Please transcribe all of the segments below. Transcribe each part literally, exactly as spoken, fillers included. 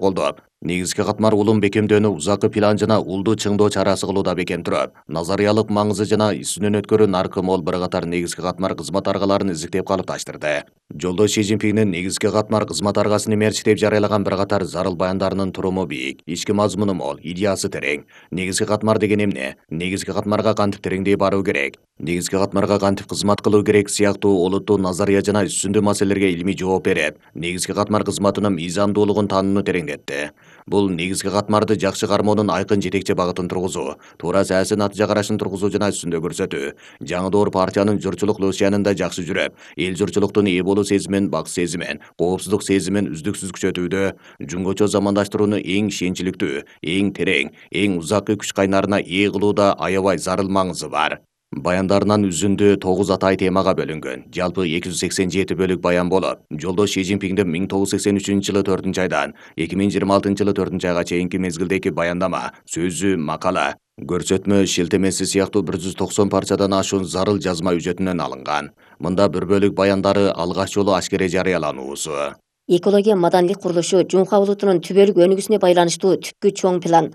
колдоп, негизги катмар улум бекемдөөнү узакы план жана улду чыңдоо чарасы кылууда бекем туруп, назариялык маңызы жана сүнөнөткөрү наркы мол бир катар негизги катмар кызмат аргаларын изилтеп калыпташтырды. Жолдо Си Цзиньпиндин негизги катмар кызмат аргасын мерчитеп жарыялаган бир катар зарыл баяндарынын туруму бийик, ички мазмуну мол, идеясы терең. Негизги катмар деген эмне? Негизги катмарга кантип тереңдей баруу керек? Негизги катмарга кантип кызмат кылуу керек сыяктуу олуттуу назария жана үстүндүү маселелерге илимий жооп берип, негизги катмар кызматынын мыйзамдуулугун таанууну тереңдетти. Бул негизги катмарды жакшы кармоонун айкын жетекчи багытын тургузуу, туура саясий натыйжа карашын тургузуу жана үстүндө көрсөтүү. Жаңы доор партиянын журтчулук лоосуянында жакшы жүрүп, эл журтчулуктун ээ болуу сезимин, бакыт сезимин, коопсуздук сезимин үздүксүз күчөтүүдө, жумгочо замандаштырууну эң ишенчиликтүү, эң терең, эң узаккы күч кайнарына ээ кылууда аябай зарыл маңызы бар. Баяндарынан үзүндү тогуз атай темага бөлүнгөн. Жалпы эки жүз сексен жети бөлүк баян болуп, жолдош Си Цзиньпиндин миң тогуз жүз сексен үчүнчү жылы төртүнчү айдан эки миң жыйырма алтынчы жылы төртүнчү айга чейинки мезгилдеги баяндама, сөзү, макала, көрсөтмө, шилтемеси сыяктуу бир жүз токсон парчадан ашуун зарыл жазма үжөтүнөн алынган. Мында бир бөлүк баяндары алгач жолу ашкере жарыялануусу. Экология маданилик курулушу Жунха улутунун түбөлүк өнүгүүсүнө байланыштуу түпкү чоң план.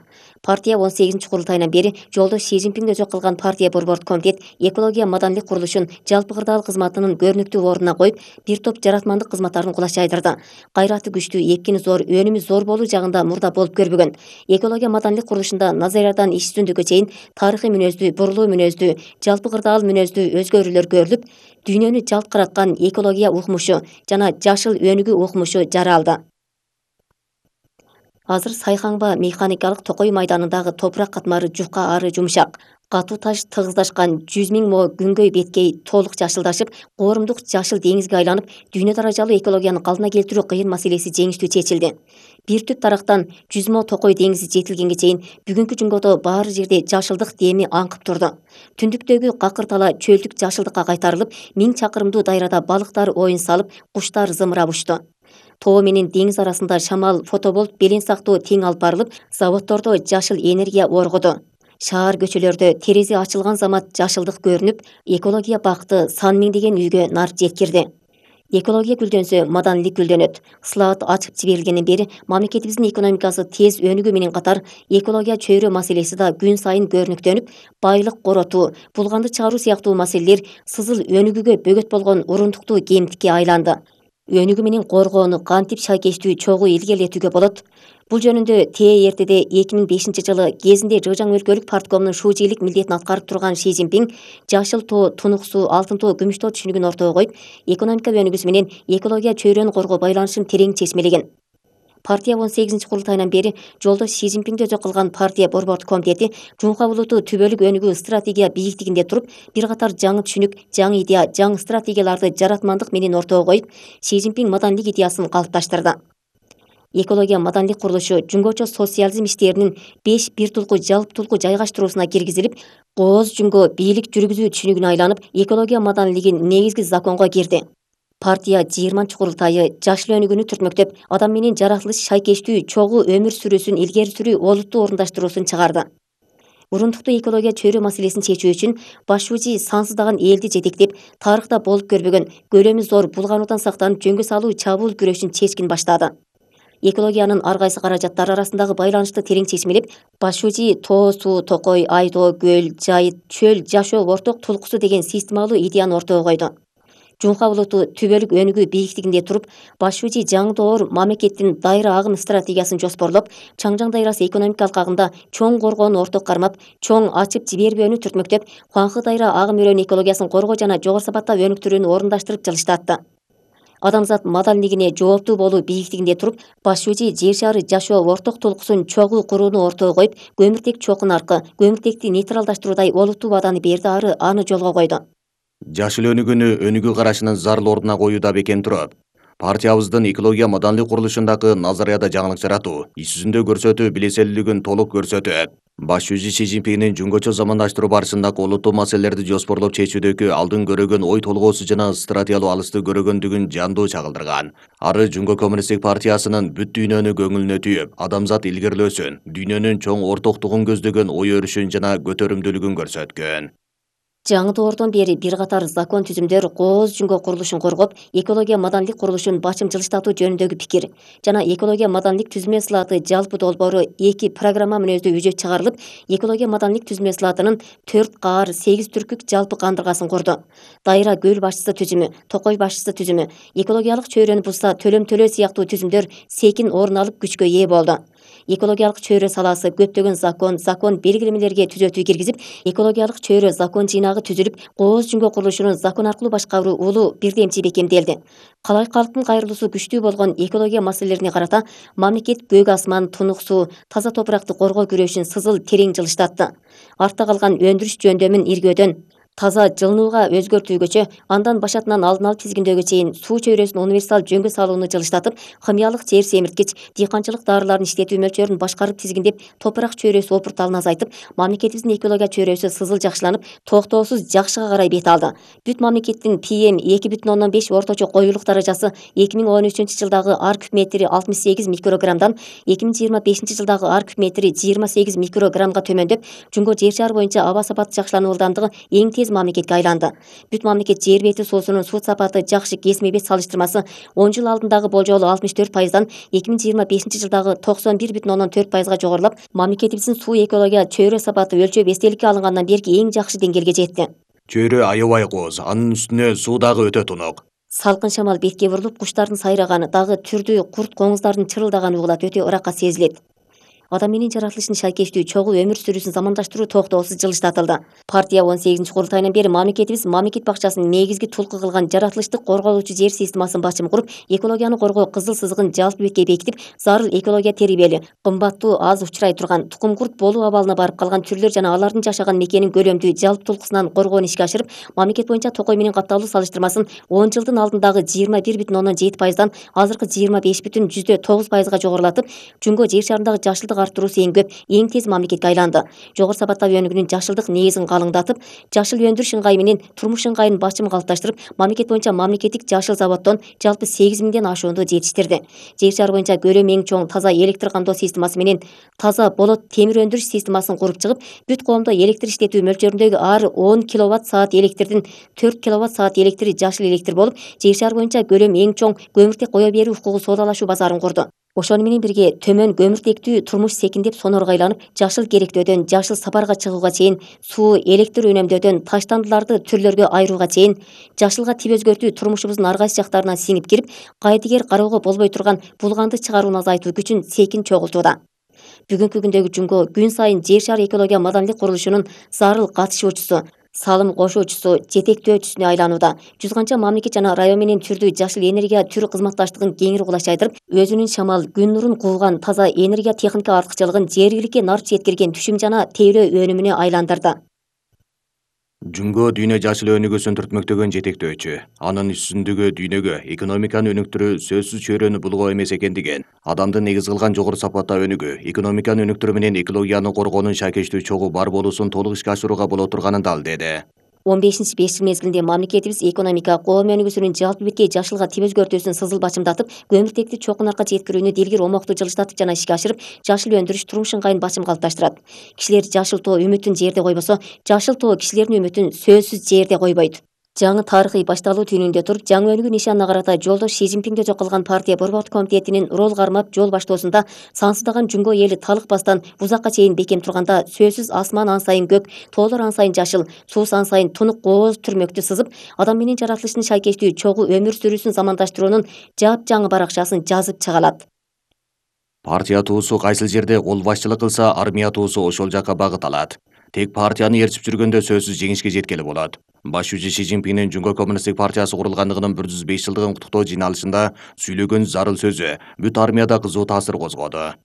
Партия он сегизинчи курултайынан бери жолдош Си Цзиньпин өзү кылган партия борбордук комитет экология маданилик курулушун жалпы кырдаал кызматынын көрүнүктүү ордуна коюп, бир топ жаратмандык кызматтарын кулаш жайдырды. Кайраты күчтүү, эпкини зор, өнүмү зор болуу жагында мурда болуп көрбөгөн. Экология маданилик курулушунда назариядан иш үстүндүккө чейин тарыхый мүнөздүү, бурлуу мүнөздүү, жалпы кырдаал мүнөздүү өзгөрүүлөр көрүлүп, дүйнөнү жалт караткан экология укмушу жана жашыл өнүгүү укмушу жаралды. Азыр Сайхаңба механикалык Токой майданындагы топурак катмары жука ары жумшак. Катуу таш тыгыздашкан жүз миң мо күнгөй беткей толук жашылдашып, коорумдук жашыл деңизге айланып, дүйнө даражалуу экологияны калдына келтирүү кыйын маселеси жеңиштүү чечилди. Бир түп тарактан жүз мо Токой деңизи жетилгенге чейин бүгүнкү жумгодо баары жерде жашылдык деми аңкып турду. Түндүктөгү какыр тала чөлдүк жашылдыкка кайтарылып, миң чакырымдуу дайрада балыктар оюн салып, куштар зымырап учту. Тоо менен деңиз арасында шамал, фотоболт белен сактоо тең алып барылып, заводдордо жашыл энергия оргуду. Шаар көчөлөрдө терезе ачылган замат жашылдык көрүнүп, экология бакыты сан миңдеген үйгө нар жеткирди. Экология гүлдөнсө, маданилик гүлдөнөт. Слаат ачып жиберилгенден бери мамлекетибиздин экономикасы тез өнүгүү менен катар экология чөйрө маселеси да күн сайын көрүнүктөнүп, байлык коротуу, булганды чыгаруу сыяктуу маселелер сызыл өнүгүүгө бөгөт болгон урундуктуу кемтикке айланды. Өнүгүү менен коргоону кантип шайкештүү чогуу илгерилетүүгө болот? Бул жөнүндө Тэ эртеде эки миң бешинчи жылы кезинде Жыжаң өлкөлүк парткомунун шуучилик милдетин аткарып турган Си Цзиньпин жашыл тоо, тунук суу, алтын тоо, күмүш тоо түшүнүгүн ортого коюп, экономика өнүгүүсү менен экология чөйрөнү коргоо байланышын терең чечмелеген. Партия он сегизинчи курултайынан бери жолдош Си Цзиньпин өзү кылган партия борбордук комитети Жунха улуту түбөлүк өнүгүү стратегия бийиктигинде туруп, бир катар жаңы түшүнүк, жаңы идея, жаңы стратегияларды жаратмандык менен ортого коюп, Си Цзиньпин маданилик идеясын калыпташтырды. Экология маданилик курулушу жумгочо социализм иштеринин беш бир тулку жалптулку жайгаштыруусуна киргизилип, кооз жумго бийлик жүргүзүү түшүнүгүнө айланып, экология маданилигин негизги законго кирди. Партия жыйырманчы курултайы жашыл өнүгүүнү түртмөктөп, адам менен жаратылыш шайкештүү чогуу өмүр сүрүүсүн илгери сүрүү олуттуу орундаштыруусун чыгарды. Урундуктуу экология чөйрө маселесин чечүү үчүн башчуучу сансыздаган элди жетектеп, тарыхта болуп көрбөгөн көлөмү зор булгануудан сактанып жөнгө салуу чабуул күрөшүн чечкин баштады. Экологиянын ар кайсы каражаттары арасындагы байланышты терең чечмелеп, башчуучу тоо суу, Токой, Айдоо, көл, жайыт, чөл, жашоо орток тулкусу деген системалуу идеяны ортого койду. Жунха улуту түбөлүк өнүгүү бийиктигинде туруп, башчуучу жаңы доор мамлекеттин дайра агым стратегиясын жоспорлоп, Чаңжаң дайрасы экономикалык агымда чоң коргоону орток кармап, чоң ачып жибербөөнү түртмөктөп, Хуанхэ дайра агым өрөөнү экологиясын коргоо жана жогору сапатта өнүктүрүүнү орундаштырып жылыштатты. Адамзат маданилигине жооптуу болуу бийиктигинде туруп, башчуучу жер шары жашоо орток толкусун чогуу курууну ортого коюп, көмүртек чоку наркы, көмүртекти нейтралдаштыруудай олуттуу убаданы берди ары аны жолго койду. Жашыл өнүгүүнү өнүгүү карашынын зарыл ордуна коюуда бекем туруп, партиябыздын экология маданилик курулушундагы назарияда жаңылык жаратуу, иш жүзүндө көрсөтүү билеселүүлүгүн толук көрсөтөт. Башчуучу Си Цзиньпиндин жөнгөчө замандаштыруу барышындагы олуттуу маселелерди жоспорлоп чечүүдөгү алдын көрөгөн ой толгоосу жана стратегиялуу алысты көрөгөндүгүн жандуу чагылдырган. Ары Жумго коммунисттик партиясынын бүт дүйнөнү көңүлүнө түйүп, адамзат илгерилөөсүн, дүйнөнүн чоң ортоктугун көздөгөн ой өрүшүн жана көтөрүмдүүлүгүн көрсөткөн. Жаңы доордон бери бир катар закон түзүмдөр кооз жүнгө курулушун коргоп, экология маданилик курулушун башым жылыштатуу жөнүндөгү пикир жана экология маданилик түзүлмө сылаты жалпы долбоору эки программа мүнөздүү үжөт чыгарылып, экология маданилик түзүлмө сылатынын төрт каар сегиз түркүк жалпы кандыргасын курду. Дайра көл башчысы түзүмү, Токой башчысы түзүмү, экологиялык чөйрөнү бузса төлөм төлөө сыяктуу түзүмдөр секин орун алып күчкө ээ болду. Экологиялык чөйрө саласы көптөгөн закон, закон белгилемелерге түзөтүү киргизип, экологиялык чөйрө закон жыйнагы түзүлүп, кооз жүнгө курулушунун закон аркылуу башкаруу улуу бирдемчи бекемделди. Калай калктын кайрылуусу күчтүү болгон экология маселелерине карата мамлекет көк асман, тунук суу, таза топуракты коргоо күрөшүн сызыл терең жылыштатты. Артта калган өндүрүш жөндөмүн иргөөдөн таза жылынууга өзгөртүүгөчө, андан башатынан алдын алып тизгиндөөгө чейин суу чөйрөсүн универсал жөнгө салууну жылыштатып, химиялык жер семирткич, дыйканчылык даарыларын иштетүү мөлчөрүн башкарып тизгиндеп, топурак чөйрөсү опурталын азайтып, мамлекетибиздин экология чөйрөсү сызыл жакшыланып, токтоосуз жакшыга карай бет алды. Бүт мамлекеттин пи эм эки бүтүн ондон беш орточо коюулук даражасы эки миң он үчүнчү жылдагы ар куб метри алтымыш сегиз микрограммдан эки миң жыйырма бешинчи жылдагы ар куб метри жыйырма сегиз микрограммга төмөндөп, жөнгө жер шары боюнча аба сапаты жакшылануу ылдамдыгы эң тез мамлекетке айланды. Бүт мамлекет жер бети суусунун суу сапаты жакшы кесме бет салыштырмасы он жыл алдындагы болжолу алтымыш төрт пайыздан эки миң жыйырма бешинчи жылдагы токсон бир бүтүн ондон төрт пайызга жогорулап, мамлекетибиздин суу экология чөйрө сапаты өлчөп эстеликке алынгандан берки эң жакшы деңгээлге жетти. Чөйрө аябай кооз, анын үстүнө суу дагы өтө тунук. Салкын шамал бетке бурулуп, куштардын сайраганы, дагы түрдүү курт коңуздардын чырылдаганы угулат, өтө ыракка сезилет. Адам менен жаратылыштын шайкештүү чогуу өмүр сүрүүсүн замандаштыруу токтоосуз жылыштатылды. Партия он сегизинчи курултайынан бери мамлекетибиз мамлекет бакчасын негизги тулку кылган жаратылыштык корголуучу жер системасын башым куруп, экологияны коргоо кызыл сызыгын жалпы бетке бекитип, зарыл экология терибели, кымбаттуу аз учурай турган тукум курт болуу абалына барып калган түрлөр жана алардын жашаган мекенин көлөмдүү жалпы тулкусунан коргоону ишке ашырып, мамлекет боюнча Токой менен катталуу салыштырмасын он жылдын алдындагы жыйырма бир бүтүн ондон жети пайыздан азыркы жыйырма беш бүтүн жүздө тогуз пайызга жогорулатып, жөнгө жер шарындагы жашылдык арттыруусу эң көп, эң тез мамлекетке айланды. Жогору сапаттагы өнүгүүнүн жашылдык негизин калыңдатып, жашыл өндүрүш ыңгайы менен турмуш ыңгайын башым калыпташтырып, мамлекет боюнча мамлекеттик жашыл заводдон жалпы сегиз миңден ашуунду жетиштирди. Жер шары боюнча көлөмү эң чоң таза электр кандоо системасы менен таза болот темир өндүрүш системасын куруп чыгып, бүт коомдо электр иштетүү мөлчөрүндөгү ар он киловатт саат электрдин төрт киловатт саат электри жашыл электр болуп, жер шары боюнча көлөмү эң чоң көмүртек кое берүү укугу соодалашуу базарын курду. Ошону менен бирге төмөн көмүртектүү турмуш секиндеп сонорго айланып, жашыл керектөөдөн жашыл сапарга чыгууга чейин, суу, электр үнөмдөөдөн таштандыларды түрлөргө айырууга чейин, жашылга тип өзгөртүү турмушубуздун ар кайсы жактарына сиңип кирип, кайдыгер кароого болбой турган булганды чыгарууну азайтуу күчүн секин чогултууда. Бүгүнкү күндөгү жүнгө күн сайын жер шары экология маданилик курулушунун зарыл катышуучусу, салым кошуучусу, жетектөөчүсүнө айланууда. Жүз канча мамлекет жана район менен түрдүү жашыл энергия түр кызматташтыгын кеңири кулачайдырып, өзүнүн шамал, күн нурун кууган таза энергия техника артыкчылыгын жергиликке нарт жеткирген түшүм жана тейлөө өнүмүнө айландырды. Жүнгө дүйнө жашыл өнүгүүсүн түртмөктөгөн жетектөөчү. Анын үстүндөгү дүйнөгө экономиканы өнүктүрүү сөзсүз чөйрөнү булгоо эмес экендигин, адамды негиз кылган жогору сапаттагы өнүгүү, экономиканы өнүктүрүү менен экологияны коргоонун шайкештүү чогуу бар болуусун толук ишке ашырууга боло турганын далилдеди. он бешинчи беш жыл мезгилинде мамлекетибиз экономика, коом өнүгүүсүнүн жалпы беткей жашылга тип өзгөртүүсүн сызыл бачымдатып, көмүртекти чокун арка жеткирүүнү дилгир омоктуу жылыштатып жана ишке ашырып, жашыл өндүрүш турмуш ыңгайын башым калыпташтырат. Кишилер жашыл тоо үмүтүн жерде койбосо, жашыл тоо кишилердин үмүтүн сөзсүз жерде койбойт. Жаңы тарыхый башталуу түнүндө туруп, жаңы өнүгүү нишанына карата жолдош Ши Цзиньпинге жок кылган партия борбордук комитетинин рол кармап жол баштоосунда сансыздаган жүнгө эли талыкпастан узакка чейин бекем турганда, сөзсүз асман ан сайын көк, тоолор ан сайын жашыл, суу ан сайын тунук кооз түрмөктү сызып, адам менен жаратылыштын шайкештүү чогуу өмүр сүрүүсүн замандаштыруунун жапжаңы баракчасын жазып чыгалат. Партия туусу кайсыл жерде кол башчылык кылса, армия туусу ошол жакка багыт алат. Тек партияны ээрчип жүргөндө сөзсүз жеңишке жеткели болот. Башчы Ши Цзиньпиндин Жүнгө коммунисттик партиясы курулгандыгынын бир жүз беш жылдыгын куттуктоо жыйналышында сүйлөгөн зарыл сөзү бүт армияда кызуу таасир козгоду.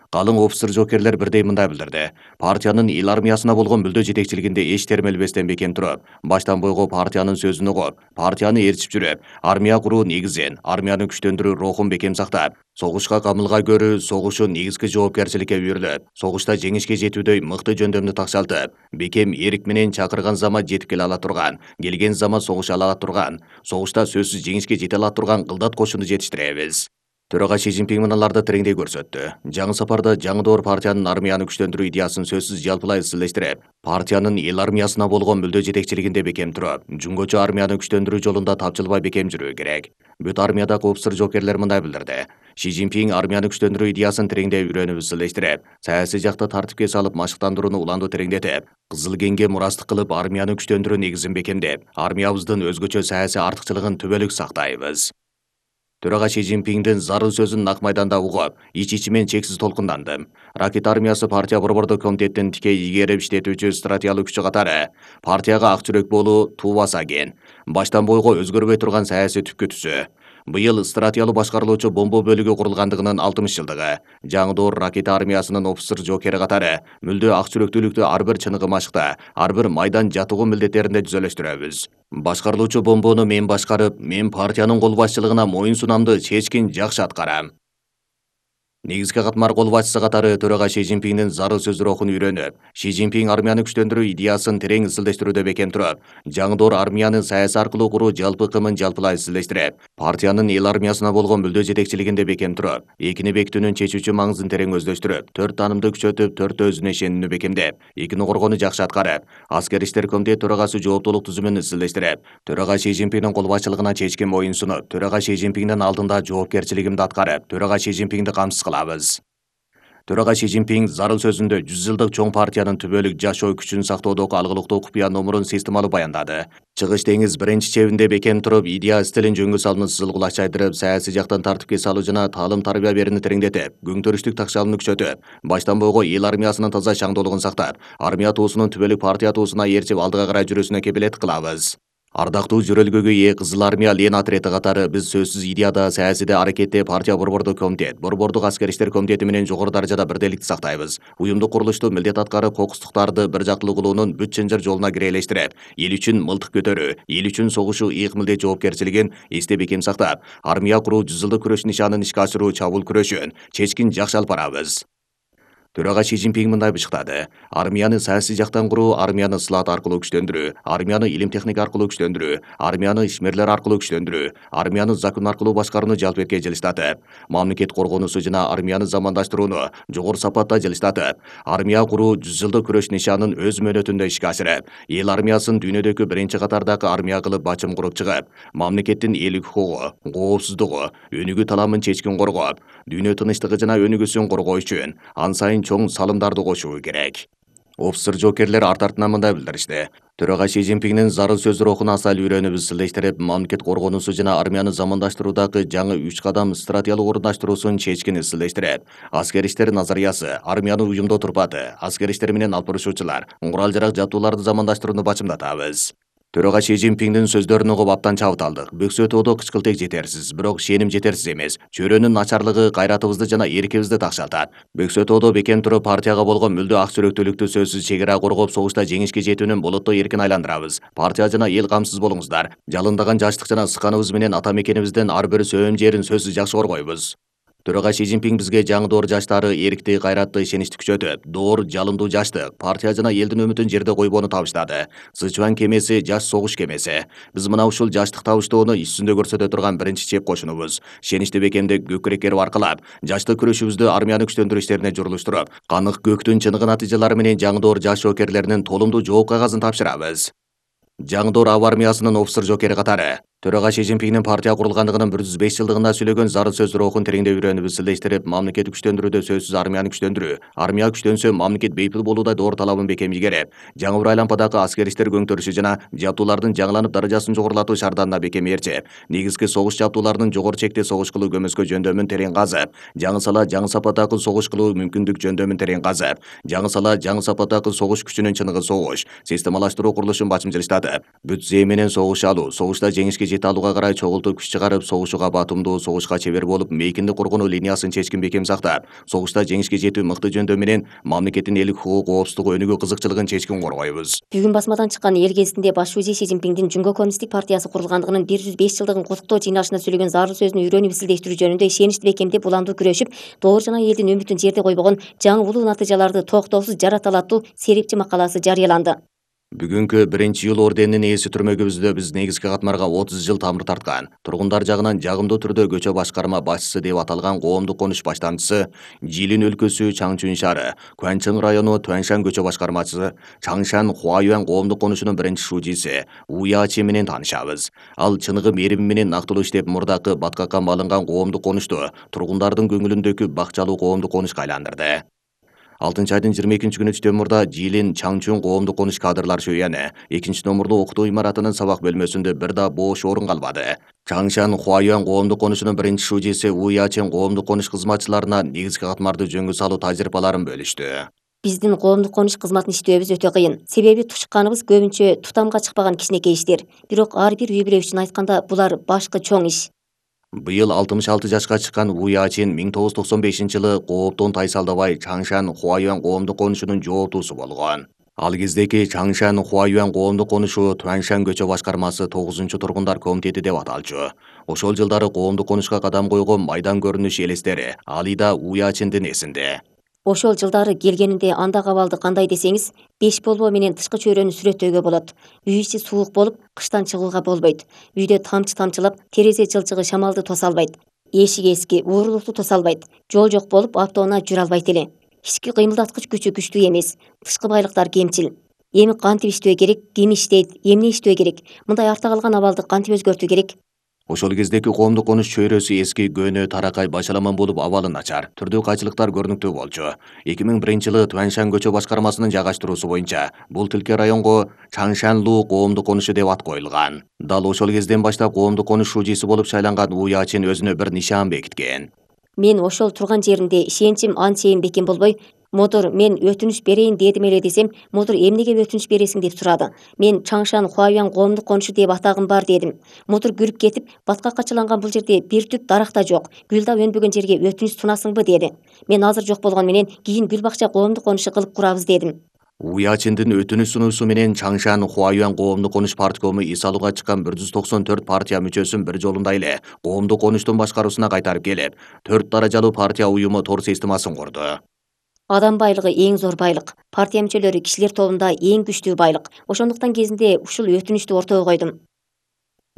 Калың офицер жоокерлер бирдей мындай билдирди. Партиянын эл армиясына болгон мүлдө жетекчилигинде эч термелбестен бекем туруп, баштан бойго партиянын сөзүн угуп, партияны ээрчип жүрүп, армия куруу негизин, армияны күчтөндүрүү рухун бекем сактап, согушка камылга көрүү согушу негизги жоопкерчиликке үйрүлүп, согушта жеңишке жетүүдөй мыкты жөндөмдү такшалтып, бекем эрик менен чакырган зама жетип келе ала турган, келген зама согуша ала турган, согушта сөзсүз жеңишке жете ала турган кылдат кошуну жетиштиребиз. Төрага Си Цзиньпин мыналарды тереңдей көрсөттү. Жаңы сапарда жаңы доор партиянын армияны күчтөндүрүү идеясын сөзсүз жалпылай изчилештирип, партиянын эл армиясына болгон мүлдө жетекчилигинде бекем туруп, жүнгөчө армияны күчтөндүрүү жолунда тапчылбай бекем жүрүү керек. Бүт армияда коопсуз жоокерлер мындай билдирди. Си Цзиньпин армияны күчтөндүрүү идеясын тереңдей үйрөнүп изчилештирип, саясий жакта тартипке салып машыктандырууну уланду тереңдетип, Кызыл кеңге мурастык кылып армияны күчтөндүрүү негизин бекемдеп, армиябыздын өзгөчө саясий артыкчылыгын түбөлүк сактайбыз. Төрага Си Цзиньпиндин зарыл сөзүн нак майданда угуп, ич-ичимен чексиз толкундандым. Ракет армиясы партия борбордук комитеттин тикей ийгерип иштетүүчү стратегиялык күчү катары партияга ак жүрөк болуу туубаса экен. Баштан бойго өзгөрбөй турган саясий түпкү түсү. Быйыл стратегиялык башкарылуучу бомба бөлүгү курулгандыгынын алтымыш жылдыгы. Жаңы доор ракета армиясынын офицер жоокери катары мүлдө ак жүрөктүүлүктү ар бир чыныгы машыкта, ар бир майдан жатыгуу милдеттеринде жүзөлөштүрөбүз. Башкарылуучу бомбону мен башкарып, мен партиянын кол башчылыгына моюн сунамды чечкин жакшы аткарам. Негизги катмар кол башчысы катары төрага Си Цзиньпиндин зарыл сөз рухун үйрөнүп, Си Цзиньпин армияны күчтөндүрүү идеясын терең изилдештирүүдө бекем туруп, жаңы доор армияны саясий аркылуу куруу жалпы кымын жалпылай изилдештирип, партиянын эл армиясына болгон мүлдө жетекчилигинде бекем туруп, экини бекитүүнүн чечүүчү маңызын терең өздөштүрүп, төрт таанымды күчөтүп, төртөө өзүнө ишенүүнү бекемдеп, экини коргоону жакшы аткарып, аскер иштер комитети төрагасы жооптуулук түзүмүн изилдештирип, төрага Си Цзиньпиндин кол башчылыгына чечкен моюн сунуп, төрага Си Цзиньпиндин алдында жоопкерчилигимди аткарып, төрага Си Цзиньпинди камсыз кылабыз. Төрага Си Цзиньпин зарыл сөзүндө жүз жылдык чоң партиянын түбөлүк жашоо күчүн сактоодогу алгылыктуу купуя номурун системалуу баяндады. Чыгыш деңиз биринчи чебинде бекем туруп, идея стилин жөнгө салууну сызыл кулач айдырып, саясий жактан тартипке салуу жана таалым тарбия берүүнү тереңдетип, күнтөрүштүк такшалууну күчөтүп, баштан бойго эл армиясынын таза шаңдоолугун сактап, армия туусунун түбөлүк партия туусуна ээрчип алдыга карай жүрүүсүнө кепилет кылабыз. Ардактуу жүрөлгөгө ээ Кызыл армия Лен отрети катары биз сөзсүз идеяда, саясийде, аракетте партия борбордук комитет, борбордук аскер иштер комитети менен жогору даражада бирдейликти сактайбыз. Уюмдук курулушту милдет аткарып, кокустуктарды бир жактылуу кылуунун бүт чынжыр жолуна кирелештирип, эл үчүн мылтык көтөрүү, эл үчүн согушуу ыйык милдет жоопкерчилигин эсте бекем сактап, армия куруу жүз жылдык күрөш нишанын ишке ашыруу чабуул күрөшүн чечкин жакшы алып барабыз. Төрага Си Цзиньпин мындай бышыктады. Армияны саясий жактан куруу, армияны сылаат аркылуу күчтөндүрүү, армияны илим техника аркылуу күчтөндүрүү, армияны ишмерлер аркылуу күчтөндүрүү, армияны закон аркылуу башкарууну жалпы этке жылыштатып, мамлекет коргоонусу жана армияны замандаштырууну жогору сапатта жылыштатып, армия куруу жүз жылдык күрөш нишанын өз мөөнөтүндө ишке ашырып, эл армиясын дүйнөдөгү биринчи катардагы армия кылып бачым куруп чыгып, мамлекеттин элдик укугу, коопсуздугу, өнүгүү таламын чечкин коргоп, дүйнө тынычтыгы жана өнүгүүсүн коргоо үчүн ан сайын чоң салымдарды кошуу керек. Офицер жоокерлер арт артынан мындай билдиришти. Төрага Си Цзиньпиндин зарыл сөз рухуна асал үйрөнүп изчилештирип, мамлекет коргоонусу жана армияны замандаштыруудагы жаңы үч кадам стратегиялык орундаштыруусун чечкин изчилештирип, аскер иштер назариясы, армиянын уюмдуу турпаты, аскер иштер менен алып барышуучулар, курал жарак жабдууларды замандаштырууну бачымдатабыз. Төрага Си Цзиньпиндин сөздөрүн угуп абдан чабыт алдык. Бөксөтүүдө кычкылтек жетерсиз, бирок ишеним жетерсиз эмес. Чөйрөнүн начарлыгы кайратыбызды жана эркибизди такшалтат. Бөксөтүүдө бекем туруп партияга болгон мүлдө ак жүрөктүүлүктү сөзсүз чегара коргоп, согушта жеңишке жетүүнүн болоттоо эркин айландырабыз. Партия жана эл камсыз болуңуздар. Жалындаган жаштык жана сыканыбыз менен ата мекенибиздин ар бир сөөм жерин сөзсүз жакшы коргойбуз. Төрага Си Цзиньпин бизге жаңы доор жаштары эркти, кайратты, ишеничти күчөтүп, доор, жалындуу жаштык, партия жана элдин үмүтүн жерде койбоону табыштады. Сычуан кемеси жаш согуш кемеси. Биз мына ушул жаштык табыштоону иш жүзүндө көрсөтө турган биринчи чеп кошунубуз. Ишеничти бекемдеп, көкүреккерип аркылап, жаштык күрөшүбүздү армияны күчтөндүрүү иштерине журулуштуруп, канык көктүн чыныгы натыйжалары менен жаңы доор жаш жоокерлеринин толумдуу жооп кагазын тапшырабыз. Жаңы доор аба армиясынын офицер жоокери катары Төрага Си Цзиньпиндин партия курулгандыгынын бир жүз беш жылдыгында сүйлөгөн зарыл сөз рухун тереңдей үйрөнүп изчилештирип, мамлекет күчтөндүрүүдө сөзсүз армияны күчтөндүрүү, армия күчтөнсө мамлекет бейпил болуудай доор талабын бекем ийгерип, жаңы бір айлампадагы аскер иштер көңтөрүшү жана жабдуулардын жаңыланып даражасын жогорулатуу шаарданына бекем ээрчип, негизги согуш жабдууларынын жогору чекте согуш кылуу көмөскө жөндөмүн терең казып, жаңы сала жаңы сапаттагы согуш кылуу мүмкүндүк жөндөмүн терең казып, жаңы сала жаңы сапаттагы согуш күчүнүн чыныгы согуш, системалаштыруу курулушун бачым жылыштатып, бүт зээ менен согуш алуу, согушта жеңишке жете алууга карай чогултуп күч чыгарып, согушууга батумдуу, согушка чебер болуп, мейкинди коргонуу линиясын чечкин бекем сактап, согушта жеңишке жетүү мыкты жөндөм менен мамлекеттин элдик укугу, коопсуздугу, өнүгүү кызыкчылыгын чечкин коргойбуз. Бүгүн басмадан чыккан эл гезитинде баш шүүжө Си Цзиньпиндин Жүнгө коммунисттик партиясы курулгандыгынын бир жүз беш жылдыгын куттуктоо жыйналышында сүйлөгөн зарыл сөзүн үйрөнүп изилдештирүү жөнүндө ишеничти бекемдеп, уландуу күрөшүп, доор жана элдин үмүтүн жерде койбогон жаңы улуу натыйжаларды токтоосуз жарата алат аттуу серепчи макаласы жарыяланды. Бүгүнкү биринчи июль орденинин ээси түрмөгүбүздө биз негизги катмарга отуз жыл тамыр тарткан, тургундар жагынан жагымдуу түрдө көчө башкарма башчысы деп аталган коомдук конуш баштамчысы, Жилин өлкөсү Чаңчүн шаары, Куанчың району Туаншан көчө башкармачысы, Чаңшан Хуаюан коомдук конушунун биринчи шужиси У Ячи менен таанышабыз. Ал чыныгы мерими менен нактылуу иштеп, мурдакы баткакка малынган коомдук конушту тургундардын көңүлүндөгү бакчалуу коомдук конушка айландырды. алтынчы айдын жыйырма экинчи күнү түштөн Жилин Чаңчүн коомдук конуш кадрлар шөйяны экинчи номурлуу окутуу имаратынын сабак бөлмөсүндө бир да бош орун калбады. Чаңшан Хуаюан коомдук конушунун биринчи шужиси У Ячин коомдук конуш кызматчыларына негизги катмарды жөнгө салуу тажрыйбаларын бөлүштү. Биздин коомдук конуш кызматын иштөөбүз өтө кыйын. Себеби тушканыбыз көбүнчө тутамга чыкпаган кичинекей иштер. Бирок ар бир үй бүлө үчүн айтканда булар башкы чоң иш. Быйыл алтымыш алты жашка чыккан У Ячин миң тогуз жүз токсон бешинчи жылы кооптон тайсалдабай Чаңшан Хуаюан коомдук конушунун жооптуусу болгон. Ал кездеки Чаңшан Хуаюан коомдук конушу Туаншан көчө башкармасы тогузунчу тургундар комитети деп аталчу. Ошол жылдары коомдук конушка кадам койгон майдан көрүнүш элестери али да У Ячиндин эсинде. Ошол жылдары келгенинде андагы абалды кандай десеңиз, беш болбо менен тышкы чөйрөнү сүрөттөөгө болот. Үй ичи суук болуп, кыштан чыгууга болбойт. Үйдө тамчы тамчылап, терезе жылчыгы шамалды тоса албайт. Эшик эски, уурулукту тоса албайт. Жол жок болуп, автоунаа жүрө албайт эле. Ички кыймылдаткыч күчү күчтүү эмес. Тышкы байлыктар кемчил. Эми кантип иштөө керек, ким иштейт, эмне иштөө керек? Мындай артта калган абалды кантип өзгөртүү керек? Ошол кездеки коомдук конуш чөйрөсү эски, көнө, таракай, башаламан болуп, абалы начар. Түрдүү кайчылыктар көрүнүктүү болчу. эки миң биринчи жылы Туаншан көчө башкармасынын жайгаштыруусу боюнча бул тилке районго Чаңшанлуу коомдук конушу деп ат коюлган. Дал ошол кезден баштап коомдук конуш шужиси болуп шайланган У Ячин өзүнө бир нишан бекиткен. Мен ошол турган жеримде ишеничим анчейин бекем болбой, модур мен өтүнүч берейин дедим эле десем, модур эмнеге өтүнүч бересиң деп сурады. Мен Чаңшан Хуаюан коомдук конушу деп атагым бар дедим. Модур күлүп кетип, баткакка чыланган бул жерде бир түп дарак да жок. Гүл да өнбөгөн жерге өтүнүч сунасыңбы деди. Мен азыр жок болгон менен кийин гүл бакча коомдук конушу кылып курабыз дедим. У Ячиндин өтүнүч сунуусу менен Чаңшан Хуаюан коомдук конуш парткому ис алууга чыккан бир жүз токсон төрт партия мүчөсүн бир жолунда эле коомдук конуштун башкаруусуна кайтарып келип, төрт даражалуу партия уюму тор системасын курду. Адам байлыгы эң зор байлык. Партия мүчөлөрү кишилер тобунда эң күчтүү байлык. Ошондуктан кезинде ушул өтүнүчтү ортого койдум.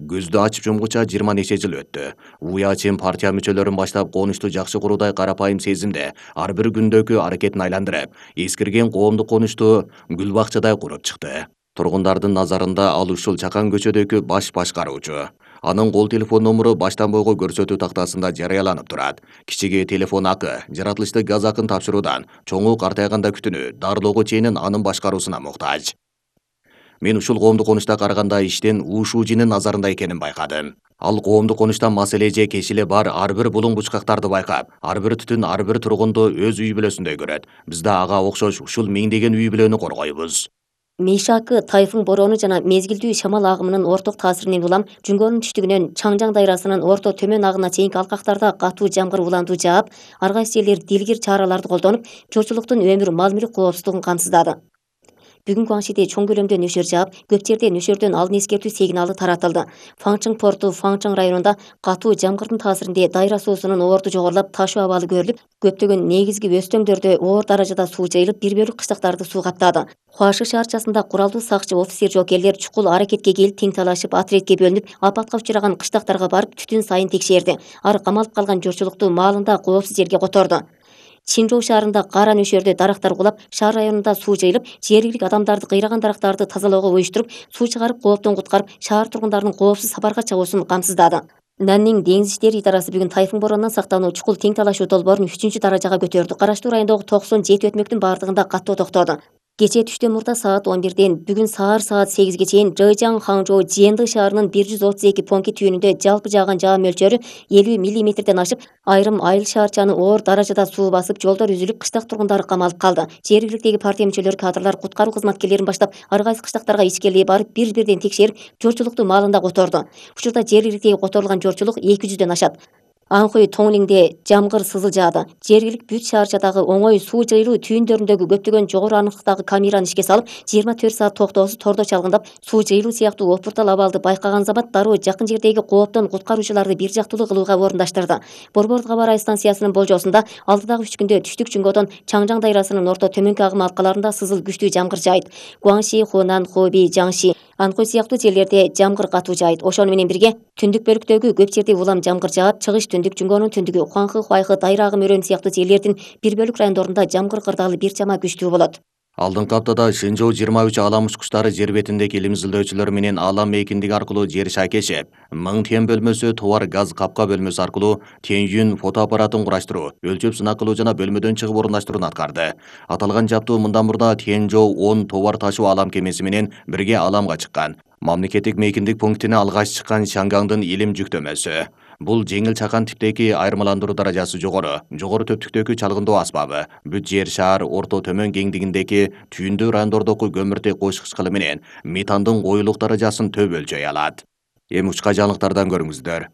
Көздү ачып жумгуча жыйырма нече жыл өттү. У Ячин партия мүчөлөрүн баштап конушту жакшы куруудай карапайым сезимде ар бир күндөгү аракетин айландырып, эскирген коомдук конушту гүл бакчадай куруп чыкты. Тургундардын назарында ал ушул чакан көчөдөгү баш башкаруучу. Анын кол телефон номуру баштан бойго көрсөтүү тактасында жарыяланып турат. Кичиге телефон акы, жаратылыштык газ акын тапшыруудан, чоңу картайганда күтүнүү, дарылоого чейин анын башкаруусуна муктаж. Мен ушул коомдук конушта караганда иштин У Шужинин назарында экенин байкадым. Ал коомдук конушта маселе же кешиле бар ар бир булуң бучкактарды байкап, ар бир түтүн ар бир тургунду өз үй бүлөсүндөй көрөт. Биз да ага окшош ушул миңдеген үй бүлөнү коргойбуз. Мишакы, тайфун бороону жана мезгилдүү шамал агымынын орток таасиринен улам Жүнгөрдүн түштүгүнөн Чаңжаң дайрасынын орто төмөн агына чейинки алкактарда катуу жамгыр уланду жаап, ар кайсы жерлер дилгир чараларды колдонуп, журтчулуктун өмүр мал мүлк коопсуздугун камсыздады. Бүгүнкү Аңшиде чоң көлөмдө нөшөр жаап, көп жерде нөшөрдөн алдын эскертүү сигналы таратылды. Фаңчың порту Фаңчың районунда катуу жамгырдын таасиринде дайра суусунун оорду жогорулап, ташуу абалы көрүлүп, көптөгөн негизги өстөңдөрдө оор даражада суу жайылып, бир бөлүк кыштактарды суу каптады. Хуашы шаарчасында куралдуу сакчы, офицер, жокерлер чукул аракетке келип, тең талашып, отрядке бөлүнүп, апатка учураган кыштактарга барып, түтүн сайын текшерди. Ар камалып калган журтчулукту маалында коопсуз жерге которду. Чинжоу шаарында кара нөшөрдө дарактар кулап, шаар районунда суу жайылып, жергиликтүү адамдарды кыйраган дарактарды тазалоого уюштуруп, суу чыгарып, кооптон куткарып, шаар тургундарынын коопсуз сапарга чыгуусун камсыздады. Наннин деңиз иштери идарасы бүгүн тайфун боронунан сактануу чукул тең талашуу долбоорун үчүнчү даражага көтөрдү. Караштуу райондогу токсон жети өтмөктүн бардыгында каттоо токтоду. Кечээ түштөн мурда саат он бирден бүгүн саар саат сегизге чейин Жэжаң Хаңжоу Жиэнды шаарынын бир жүз отуз эки понки түйүнүндө жалпы жааган жаа мөлчөрү элүү миллиметрден ашып, айрым айыл шаарчаны оор даражада суу басып, жолдор үзүлүп, кыштак тургундары камалып калды. Жергиликтеги партия мүчөлөрү, кадрлар куткаруу кызматкерлерин баштап, ар кайсы кыштактарга ичкерилей барып, бир-бирден текшерип, журтчулукту маалында которду. Учурда жергиликтеги которулган журтчулук эки жүздөн ашат. Анхой Тоңлиңде жамгыр сызыл жаады. Жергилик бүт шаарчадагы оңой суу жыйылуу түйүндөрүндөгү көптөгөн жогору аныктыктагы камераны ишке салып, жыйырма төрт саат токтоосуз тордо чалгындап, суу жыйылуу сыяктуу опуртал абалды байкаган замат дароо жакын жердеги кооптон куткаруучуларды бир жактылуу кылууга орундаштырды. Борбордук аба ырайы станциясынын болжоосунда алдыдагы үч күндө түштүк Жунгодон Чаңжаң дайрасынын орто төмөнкү агым алкаларында сызыл күчтүү жамгыр жаайт. Гуаңши, Хунан, Хоби, Жаңши, Анхой сыяктуу жерлерде жамгыр катуу жаайт. Ошону менен бирге түндүк бөлүктөгү көп жерде улам жамгыр жаап, чыгыш түндүк Жунгонун түндүгү Хуаңхы, Хуайхы, Дайра агым өрөөнү сыяктуу жерлердин бир бөлүк райондорунда жамгыр кырдаалы бир чама күчтүү болот. Алдыңкы аптада Шэнжоу жыйырма үч алам учкучтары жер бетиндеги илим изилдөөчүлөр менен алам мейкиндиги аркылуу жер шайкешип, Миң Тиен бөлмөсү товар газ капка бөлмөсү аркылуу Тяньюн фотоаппаратын кураштыруу, өлчөп сынак кылуу жана бөлмөдөн чыгып орундаштырууну аткарды. Аталган жаптуу мындан мурда Тяньжоу он товар ташуу алам кемеси менен бирге аламга чыккан. Мамлекеттик мейкиндик пунктине алгач чыккан Шангаңдын илим жүктөмөсү. Бул жеңил чакан типтеги айырмаландыруу даражасы жогору, жогору төптүктөгү чалгындоо асбабы, бүт жер шаар орто төмөн кеңдигиндеги түйүндүү райондордогу көмүртек кош кычкылы менен метандын коюлук даражасын төп өлчөй алат. Эми учка жаңылыктардан көрүңүздөр.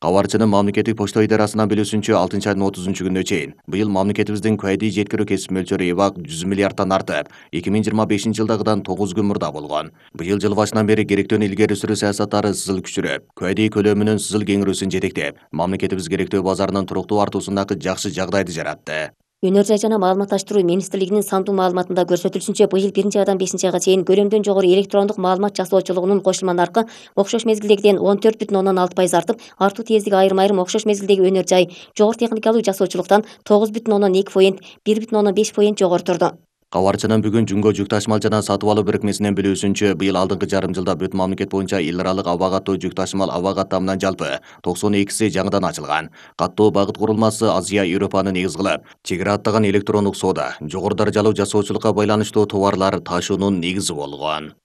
Кабарчынын мамлекеттик почта идарасынан билүүсүнчө алтынчы айдын отузунчу күнүнө чейин быйыл мамлекетибиздин кайдый жеткирүү кесип мөлчөрү эбак жүз миллиардтан артып, эки миң жыйырма бешинчи жылдагыдан тогуз күн мурда болгон. Быйыл жыл башынан бери керектөөнү илгери сүрүү саясаттары сызыл күчүрөп, кайдый көлөмүнүн сызыл кеңирүүсүн жетектеп, мамлекетибиз керектөө базарынын туруктуу артуусундагы жакшы жагдайды жаратты. Өнөр жай жана маалыматташтыруу министрлигинин сандуу маалыматында көрсөтүлүшүнчө, быйыл биринчи айдан бешинчи айга чейин көлөмдөн жогору электрондук маалымат жасоочулугунун кошулма наркы окшош мезгилдегиден он төрт бүтүн ондон алты пайыз артып, артуу тездиги айрым айрым окшош мезгилдеги өнөр жай жогору техникалуу жасоочулуктан тогуз бүтүн ондон эки поинт, бир бүтүн ондон беш поинт жогору турду. Кабарчынын бүгүн Жунго жүк ташымал жана сатып алуу бирикмесинен билүүсүнчө, быйыл алдыңкы жарым жылда бүт мамлекет боюнча эл аралык аба каттоо жүк ташымал аба каттамынан жалпы токсон экиси жаңыдан ачылган. Каттоо багыт курулмасы Азия Европаны негиз кылып, чек ара аттаган электрондук соода, жогору даражалуу жасоочулукка байланыштуу товарлар ташуунун негизи болгон.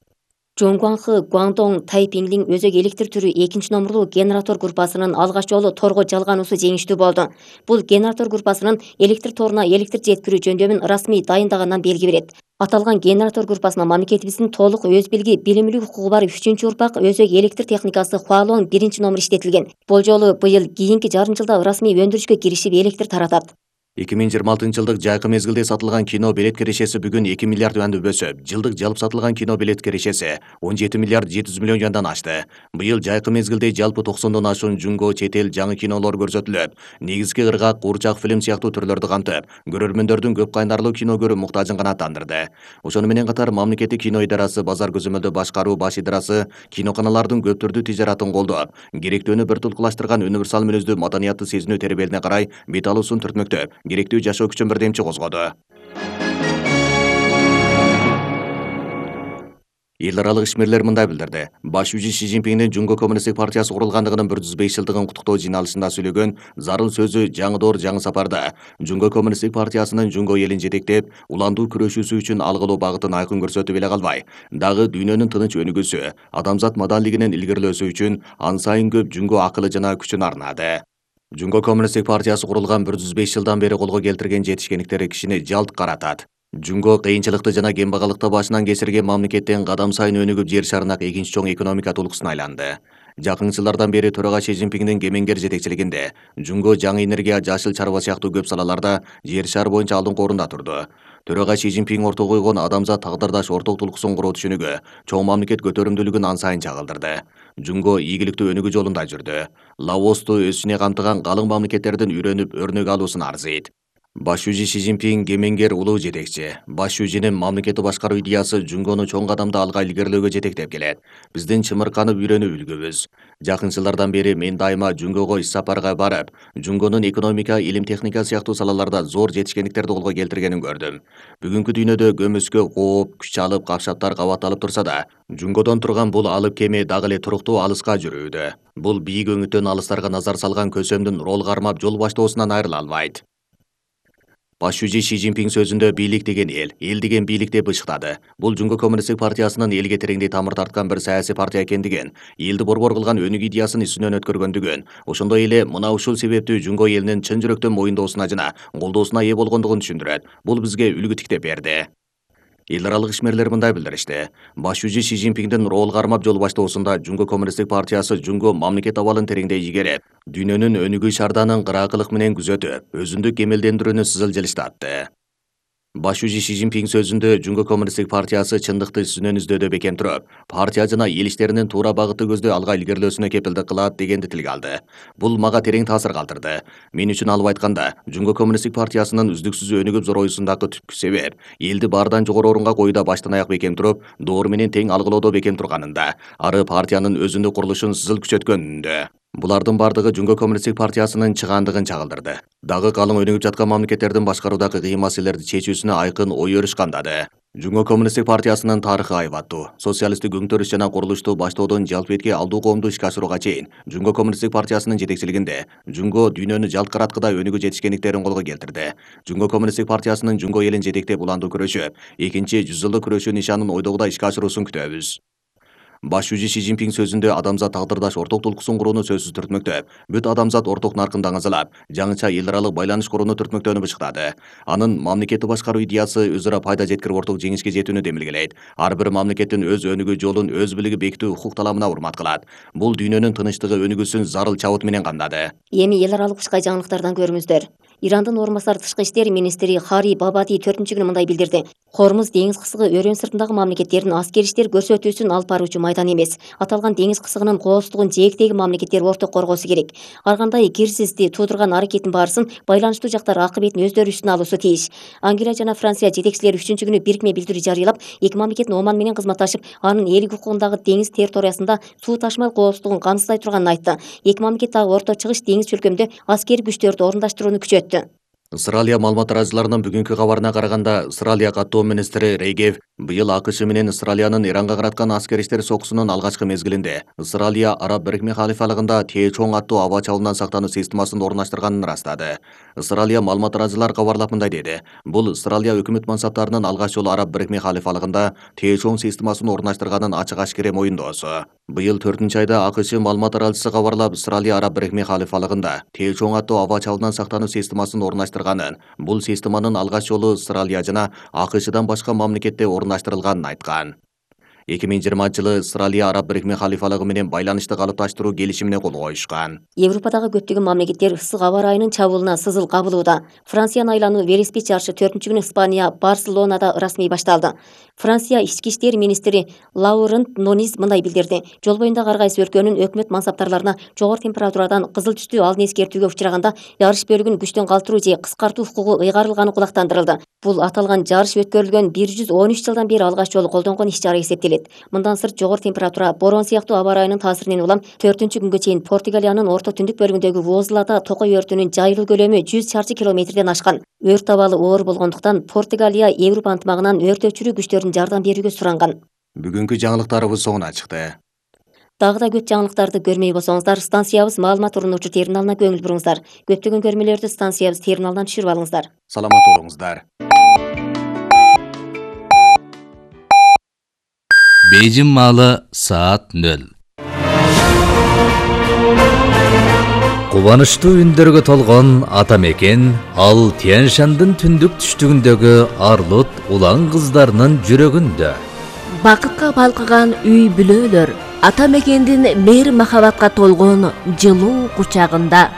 Жоңгуаңхы Гуаңдоң Тайпиңлиң өзөк электр түрү экинчи номурлуу генератор группасынын алгач жолу торго жалгануусу жеңиштүү болду. Бул генератор группасынын электр торуна электр жеткирүү жөндөмүн расмий дайындагандан белги берет. Аталган генератор группасына мамлекетибиздин толук өз билги, билимилүү укугу бар үчүнчү урпак өзөк электр техникасы Хуалуң биринчи номер иштетилген. Болжолу быйыл кийинки жарым жылда расмий өндүрүшкө киришип электр таратат. эки миң жыйырма алтынчы жылдык жайкы мезгилде сатылган кино билет кирешеси бүгүн эки миллиард юанды өсүп, жылдык жалпы сатылган кино билет кирешеси он жети миллиард жети жүз миллион юандан ашты. Быйыл жайкы мезгилде жалпы токсондон ашуун жунго чет эл жаңы кинолор көрсөтүлүп, негизги ыргак, куурчак фильм сыяктуу түрлөрдү кантып, көрөрмөндөрдүн көп кайнарлуу кино көрүү муктажын канааттандырды. Ошону менен катар мамлекеттик кино идарасы базар көзөмөлдөө башкаруу баш идарасы киноканалардын көп түрдүү тижаратын колдоп, керектөөнү бир тулкулаштырган универсал мүнөздүү маданиятты сезинүү тербелине карай бет алуусун түртмөктөп, керектүү жашоо күчүн бирдемчи козгоду. Эл аралык ишмерлер мындай билдирди. Баш жүзү Си Цзиньпиндин Жунго коммунисттик партиясы курулгандыгынын бир жүз беш жылдыгын куттуктоо жыйналышында сөйлөгөн зарыл сөзү жаңы доор жаңы сапарда Жунго коммунисттик партиясынын Жунго элин жетектеп, уландуу күрөшүүсү үчүн алгылуу багытын айкын көрсөтүп эле калбай, дагы дүйнөнүн тыныч өнүгүүсү, адамзат маданилигинин илгерилөөсү үчүн ан сайын көп Жунго акылы жана күчүн арнады. Жунго коммунисттик партиясы курулган бир жүз беш жылдан бери колго келтирген жетишкендиктери кишини жалт каратат. Жунго кыйынчылыкты жана кембагалыкты башынан кечирген мамлекеттен кадам сайын өнүгүп жер шарына экинчи чоң экономика тулкусуна айланды. Жакын жылдардан бери төрага Си Цзиньпиндин кемеңгер жетекчилигинде Жунго жаңы энергия, жашыл чарба сыяктуу көп салаларда жер шар боюнча алдыңкы орунда турду. Төрага Си Цзиньпин орто койгон адамзат тагдырдаш орток тулкусын куруу түшүнүгү чоң мамлекет көтөрүмдүүлүгүн ан сайын чагылдырды. Жунго ийгиликтүү өнүгүү жолунда жүрдү. Лаосту өзүнө камтыган калың мамлекеттердин үйрөнүп өрнөк алуусун арзыйт. Баш жүзү Си Цзиньпин кемеңгер улуу жетекчи. Баш жүзүнүн мамлекетти башкаруу идеясы Жунгону чоң кадамда алга илгерилөөгө жетектеп келет. Биздин чымырканып үйрөнүү үлгүбүз. Жакын жылдардан бери мен дайыма Жунгого иш сапарга барып, Жунгонун экономика, илим техника сыяктуу салаларда зор жетишкендиктерди колго келтиргенин көрдүм. Бүгүнкү дүйнөдө көмүскө кооп, күч алып, капшаптар кабатталып турса да, Жунгодон турган бул алып кеме дагы эле туруктуу алыска жүрүүдө. Бул бийик өңүттөн алыстарга назар салган көсөмдүн рол кармап жол баштоосунан айрыла албайт. Баш жүзү Си Цзиньпин сөзүндө бийлик деген эл, эл деген бийлик деп ышыктады. Бул Жунго коммунисттик партиясынын элге тереңдей тамыр тарткан бир саясий партия экендигин, элди борбор кылган өнүк идеясын үстүнөн өткөргөндүгүн, ошондой эле мына ушул себептүү Жунго элинин чын жүрөктөн моюндоосуна жана колдоосуна ээ болгондугун түшүндүрөт. Бул бизге үлгү тиктеп берди. Эл аралык ишмерлер мындай билдиришти. Баш жүзү Си Цзиньпиндин рол кармап жол баштоосунда Жунго Коммунисттик партиясы Жунго мамлекет абалын тереңдей игерип, дүйнөнүн өнүгүү шарданын кыраакылык менен күзөтүп, өзүндүк кемелдендирүүнү сызылжылыштатты. Баш жүзү Си Цзиньпин сөзүндө Жунго Коммунисттик партиясы чындыкты сүнөн издөөдө бекем туруп, партия жана эл иштеринин туура багытты көздөй алга илгерилөөсүнө кепилдик кылат дегенди тилге алды. Бул мага терең таасир калтырды. Мен үчүн алып айтканда, Жунго Коммунисттик партиясынын үздүксүз өнүгүп зороюусундагы түпкү себеп элди баардан жогору орунга коюуда баштан аяк бекем туруп, доор менен тең алгылоодо бекем турганында, ары партиянын өзүндүк курулушун сызыл күчөткөнүндө. Булардын бардыгы Жунго Коммунисттик партиясынын чыгаандыгын чагылдырды. Дагы калың өнүгүп жаткан мамлекеттердин башкаруудагы кыйын маселелерди чечүүсүнө айкын ой өрүш камдады. Жунго Коммунисттик партиясынын тарыхы айбаттуу. Социалисттик өңтөрүш жана курулушту баштоодон жалпы этке алдуу коомду ишке ашырууга чейин Жунго Коммунисттик партиясынын жетекчилигинде Жунго дүйнөнү жалт караткыда өнүгүү жетишкендиктерин колго келтирди. Жунго Коммунисттик партиясынын Жунго элин жетектеп уландуу күрөшү, экинчи жүз жылдык күрөшүү нишанын ойдогудай ишке ашыруусун күтөбүз. Баш жүзү Си Цзиньпин сөзүндө адамзат тагдырдаш орток толкусун курууну сөзсүз түртмөктөп, бүт адамзат орток наркында аңызалап, жаңыча эл аралык байланыш курууну түртмөктөөнү бышыктады. Анын мамлекетти башкаруу идеясы өзара пайда жеткирип орток жеңишке жетүүнү демилгелейт. Ар бир мамлекеттин өз өнүгүү жолун өз билиги бекитүү укук таламына урмат кылат. Бул дүйнөнүн тынычтыгы өнүгүүсүн зарыл чабыт менен камдады. Эми эл аралык ушкай жаңылыктардан көрүңүздөр. Ирандын орун басар тышкы иштер министри Хари Бабади төртүнчү күнү мындай билдирди. Хормуз деңиз кысыгы өрөөн сыртындагы мамлекеттердин аскер иштер көрсөтүүсүн алып баруучу майдан эмес. Аталган деңиз кысыгынын кооздугун жээктеги мамлекеттер орток коргоосу керек. Ар кандай кирсизди туудурган аракеттин баарысын байланыштуу жактар акыбетин өздөрү үстүнө алуусу тийиш. Англия жана Франция жетекчилери үчүнчү күнү бирикме билдирүү жарыялап, эки мамлекеттин Оман менен кызматташып, анын элдик укугундагы деңиз территориясында суу ташмал коопсуздугун камсыздай турганын айтты. Эки мамлекет дагы Орто Чыгыш деңиз чөлкөмдө аскери күчтөрдү орундаштырууну күчөттү. Ысыралия маалымат таратуучуларынын бүгүнкү кабарына караганда, Ысыралия каттоо министри Рейгев быйыл АКШ менен Ысыралиянын Иранга караткан аскер иштер сокусунун алгачкы мезгилинде Ысыралия Араб Бирикме халифалыгында Тээ-чоң аттуу аба чабуулунан сактануу системасын орундаштырганын ырастады. Ысыралия маалымат таратуучулар кабарлап мындай деди. Бул Ысыралия өкмөт мансаптарынын алгач жолу Араб Бирикме халифалыгында Тээ-чоң системасын орундаштырганын ачык-ачкере моюндоосу. Быйыл төртүнчү айда АКШ маалымат таратуучусу кабарлап, Ысыралия Араб Бирикме халифалыгында Тээ-чоң аттуу аба чабуулунан сактануу системасын орундаштырганын, бул системанын алгач жолу Ысыралия жана АКШдан башка мамлекетте орундаштырылганын айткан. эки миң жыйырманчы жылы Ысыралия Араб Бирикме халифалыгы менен байланышты калыпташтыруу келишимине кол коюшкан. Европадагы көптөгөн мамлекеттер ысык аба ырайынын чабуулуна сызыл кабылууда. Франциянын айлануу велосипед жарышы төртүнчү күнү Испания Барселонада расмий башталды. Франция ички иштер министри Лаурент Нонис мындай билдирди. Жол боюндагы ар кайсы өлкөнүн өкмөт мансаптарларына жогору температурадан кызыл түстүү алдын эскертүүгө учураганда жарыш бөлүгүн күчтөн калтыруу же кыскартуу укугу ыйгарылганы кулактандырылды. Бул аталган жарыш өткөрүлгөн бир жүз он үч жылдан бери алгач жолу колдонгон иш чара эсептелет. Мындан сырт жогору температура, борон сыяктуу аба ырайынын таасиринен улам төртүнчү күнгө чейин Португалиянын орто түндүк бөлүгүндөгү Возлада токой өртүнүн жайылуу көлөмү жүз чарчы километрден ашкан. Өрт абалы оор болгондуктан Португалия Европа ынтымагынан өрт өчүрүү күчтөрүнүн жардам берүүгө суранган. Бүгүнкү жаңылыктарыбыз соңуна чыкты. Дагы да көп жаңылыктарды көрмөй болсоңуздар, станциябыз маалымат урунуучу терминалына көңүл буруңуздар. Көптөгөн көрмөлөрдү станциябыз терминалынан түшүрүп алыңыздар. Саламат болуңуздар. Бейжин маалы саат нөл. Кубанычтуу үндөргө толгон ата мекен ал Тянь-Шандын түндүк түштүгүндөгү Арлут улан кыздарынын жүрөгүндө. Бакытка балкыган үй бүлөлөр ата мекендин мейир махабатка толгон жылуу кучагында.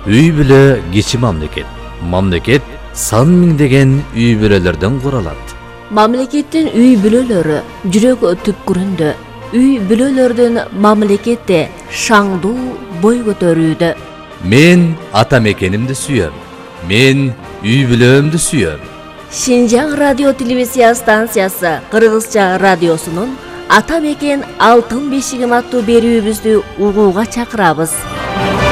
Үй бүлө кичи мамлекет. Мамлекет сан миңдеген үй бүлөлөрдөн куралат. Мамлекеттин үй бүлөлөрү жүрөк түпкүрүндө. Үй бүлөлөрдүн мамлекетте шаңдуу бой көтөрүүдө. Мен ата мекенимди сүйөм. Мен үй бүлөмдү сүйөм. Шинжаң радио телевизия станциясы Кыргызча радиосунун Ата мекен алтын бешигим аттуу берүүбүздү угууга чакырабыз.